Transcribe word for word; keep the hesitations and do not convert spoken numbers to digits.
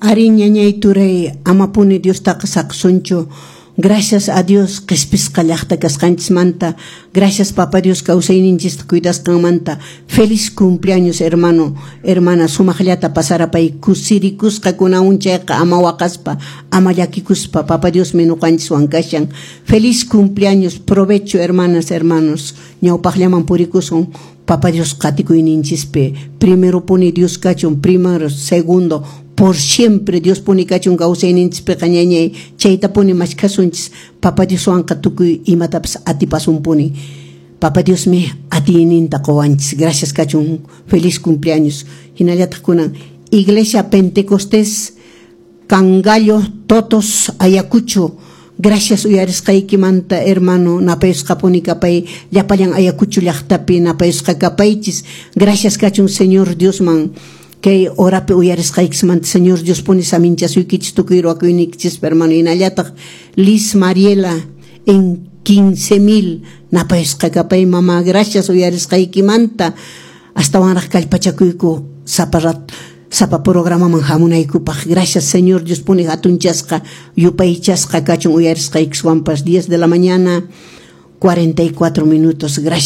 Ari, ñañay, turay, amapuni Diostaqa saqsunchu. Gracias a Dios qispisqa llaqta kasqanchismanta. Gracias, Papa Dios, kawsayninchista cuidasqanmanta. Feliz cumpleaños, hermano, hermana. Sumaqllata pasarapay, kusirikusqa kunan chayqa, ama waqaspa, ama llakikuspa. Papa Diosmi ñuqanchiswan kashan. Feliz cumpleaños, provecho, hermanas, hermanos. Ñawpaqllaman purikusun Papa Dios qatikuyninchispi. Primero puni Dios kachun, primero, segundo, por siempre Dios puni kachun kawsayninchispiqa, ñañay. Chayta puni mashkhasunchis. Papa Dioswanqa tukuy imatapas atipasunpuni. Papa Diosmi atiyninta quwanchis. Gracias kachun. Feliz cumpleaños. Hinallataq kunan Iglesia Pentecostés Cangallo, Totos, Ayacucho. Gracias uyarisqaykimanta, hermano. Napayusqapuni kapay. Llapallan Ayacucho llaqtapi napayusqa kapaychis. Gracias kachun Señor Diosman kay horapi uyarisqaykismanta. Señor Dios puni saminchasuykichis tukuy ruwakuyniykichispa, hermano. Hinallataq Liz Mariela en quince mil, napayusqa kapay, mamá. Gracias uyarisqaykimanta. Astawanraq kallpachakuyku sapa rat sapa programaman hamunaykupaq. Gracias. Señor Dios puni hatunchasqa, yupaychasqa kachun uyarisqaykiswanpas. diez de la mañana cuarenta y cuatro minutos. Gracias.